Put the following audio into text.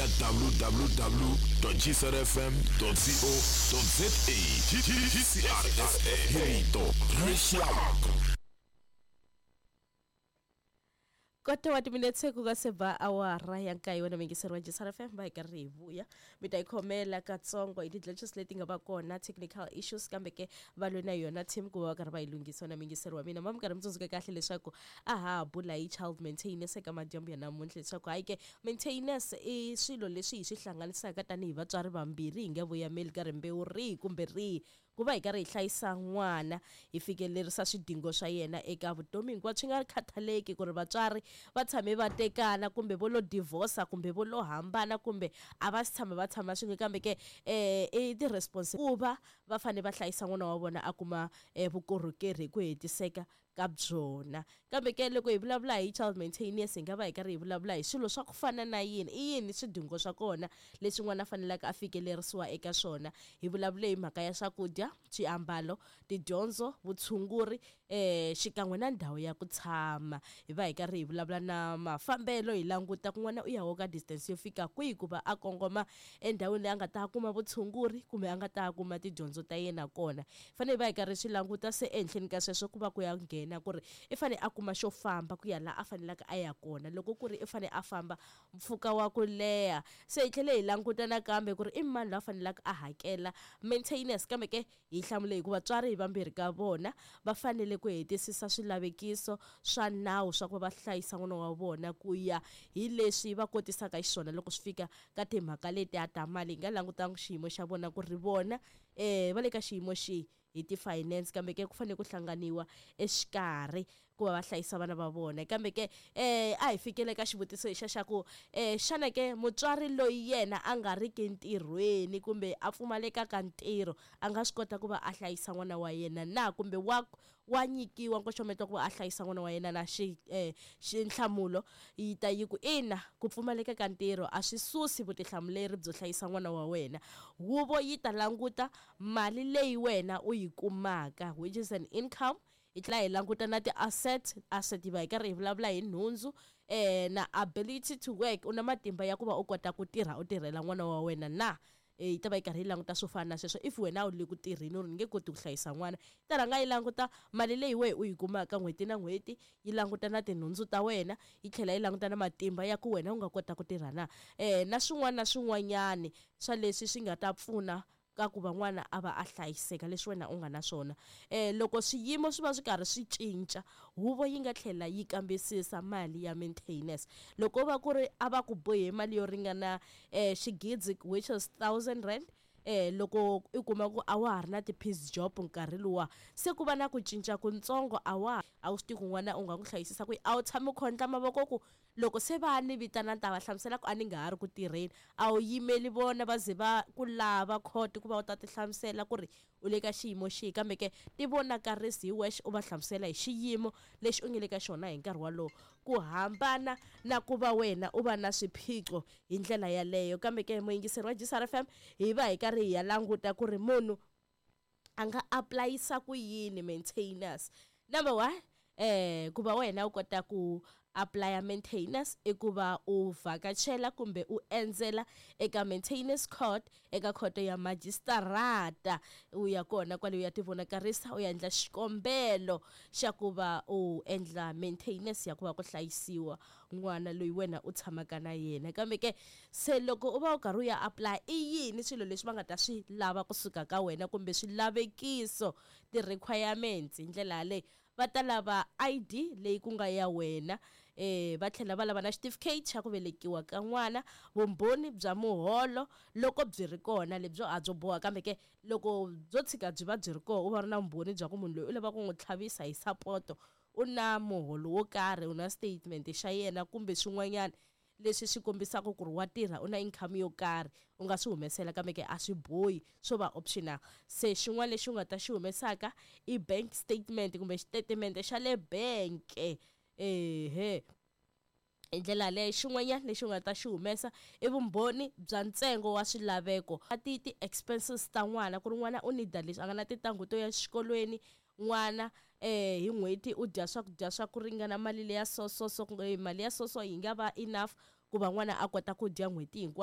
ya www.gcrfm.co.za. GCRFM, hi rito ra rixaka. Kota wa timinetse ku nga se ba awara ya nkaye, wena muyingiseri wa JSR FM, va hi karhi hi vuya. Mi ta yi khomela katsongo hi ti-glitches leti nga va kona, technical issues, kambe ke va lwe na yona team ku va va karhi va yi lunghisa. Wena muyingiseri wa mina, ma mi karhi mi tsundzuka kahle leswaku a ha ha bula hi child maintenance eka madyambu ya namuntlha, leswaku hayi ke, maintenance i swilo leswi hi swi hlanganisaka tanihi vatswari vambirhi, hi nga voyameli ka rimbewu rihi kumbe rihi, ku va hi karhi hi hlayisa n'wana, hi fikelerisa swidingo swa yena eka vutomi hinkwabyo, swi nga khathaleki ku ri vatswari va tshame va tekana kumbe vo lo divorce kumbe vo lo hambana kumbe a va si tshama va tshama swin'we. Kambe ke i ti ku va va fanele va hlayisa n'wana wa vona a kuma vukorhokeri hi ku hetiseka ka byona. Kambe ke loko hi vulavula hi child maintenance, hi nga va hi karhi hi vulavula hi swilo swa ku fana na yini? I yini swidingo swa kona leswi n'wana a faneleke a fikelerisiwa eka swona? Hi vulavule hi mhaka ya swakudya, swiambalo, tidyondzo, vutshunguri, xikan'we na ndhawu ya ku tshama. Hi va hi karhi hi vulavula na mafambelo, hi languta kun'wana u ya woka distance yo fika kwihi ku va a kongoma endhawini leyi a nga ta kuma vutshunguri kumbe a nga ta kuma tidyondzo ta yena kona. Fanele hi va hi karhi swi languta. Se ehenhleni ka sweswo ku va ku ya nghena ku ri i fanele a kuma xo famba ku ya laha a faneleke a ya kona, loko ku ri i fanele a famba mpfhuka wa ku leha. Se hi tlhele hi languta nakambe ku ri i mani loyi a faneleke a hakela maintenance. Kambe ke hi hlamule hikuva vatswari hi vambirhi ka vona va fanele ku hetisisa swilavekiso swa nawu swa ku va va hlayisa n'wana wa vona ku ya hi leswi va kotisaka xiswona loko swi fika ka timhaka letiya ta mali, hi nga langutanga xiyimo xa vona ku ri vona va le ka xiyimo xihi hi ti-finance. Kambe ke ku fanele ku hlanganiwa exikarhi ku va va hlayisa vana va vona. Kambe ke a hi fikele ka xivutiso lexa xa ku xana ke mutswari loyi yena a nga ri ki ntirhweni kumbe a pfumaleka ka ntirho a nga swi kota ku va a hlayisa n'wana wa yena na, kumbe wa nyikiwa nkoxometo ku va a hlayisa n'wana wa yena na? Xi xinhlamulo yi ta yi ku ina, ku pfumaleka ka ntirho a swi susi vutihlamuleri byo hlayisa n'wana wa wena. Huvo yi ta languta mali leyi wena u yi kumaka, which is an income. Hi tlhela hi languta na ti-asset. Asset yi va hi karhi hi vulavula hi nhundzu, na ability to work, u na matimba ya ku va u kota ku tirha, u tirhela n'wana wa wena na? Yi ta va yi karhi yi languta swo fana na sweswo. If wena a wu le ku tirheni, u ri ni nge koti ku hlayisa n'wana, yi ta rhanga yi languta mali leyi wehe u yi kumaka n'hweti na n'hweti, yi languta na tinhundzu ta wena, yi tlhela yi languta na matimba ya ku wena u nga kota ku tirha na, na swin'wana na swin'wanyani swa leswi swi nga ta pfuna ka ku va n'wana a va a hlayiseka, leswi wena u nga na swona. Loko swiyimo swi va swi karhi swi cinca, huvo yi nga tlhela yi kambisisa mali ya maintenance. Loko va ku ri a va ku bohe mali yo ringana xigidzi, which is R1000, loko i kuma ku a wa ha ri na ti-piece job nkarhi luwa, se ku va na ku cinca kutsongo, a wu swi tivi ku n'wana u nga n'wi hlayisisa ku a wu tshami u khondla mavoko ku loko se va ni vitana ni ta va hlamusela ku a ni nga ha ri ku tirheni. A wu yimeli vona va ze va ku lava court ku va u ta ti hlamusela ku ri u le ka xiyimo xihi. Kambe ke ti vonakarisi hi wexe, u va hlamusela hi xiyimo lexi u nge le ka xona hi nkarhi wolowo, ku hambana na ku va wena u va na swiphiqo hi ndlela yaleyo. Kambe ke muyingiseri wa GCR FM, hi va hi karhi hi ya languta ku ri munhu a nga aplayisa ku yini maintenance. Number one, ku va wena u kota ku applya maintenance i ku va u vhakachela kumbe u endzela eka maintenance court, eka khoto ya majistarata. U ya kona kwale, u ya tivonakarisa, u ya endla xikombelo xa ku va u endla maintenance ya ku va ku hlayisiwa n'wana loyi wena u tshamaka na yena. Kambe ke se loko u va u karhi u ya apply, i yini swilo leswi va nga ta swi lava kusuka ka wena kumbe swilavekiso, ti-requirements? Hi ndlela yaleyo va ta lava ID leyi ku nga ya wena, va tlhela va lava na xitifiketi xa ku velekiwa ka n'wana, vumbhoni bya muholo loko byi ri kona. Lebyo a byo boha, kambe ke loko byo tshika byi va byi ri kona, u va ri na vumbhoni bya ku munhu loyi u lava ku n'wi tlhavisa hi sapoto u na muholo wo karhi, u na statement xa yena kumbe swin'wanyana leswi swi kombisaka ku ri wa tirha, u na income yo karhi, u nga swi humesela. Kambe ke a swi bohi, swo va optional. Se xin'wana lexi u nga ta xi humesaka i bank statement kumbe xitatimende xa le bank. Ehe, hi ndlela yaleyo. Xin'wanyana lexi u nga ta xi humesa i vumbhoni bya ntsengo wa swilaveko, ti ti-expenses ta n'wana, ku ri n'wana u need leswi, a nga na tintangu to ya xikolweni, n'wana hi n'hweti u dya swakudya swa ku ringana mali leya so so so, mali ya so so yi nga va enough ku va n'wana a kota ku dya n'hweti hinkwayo.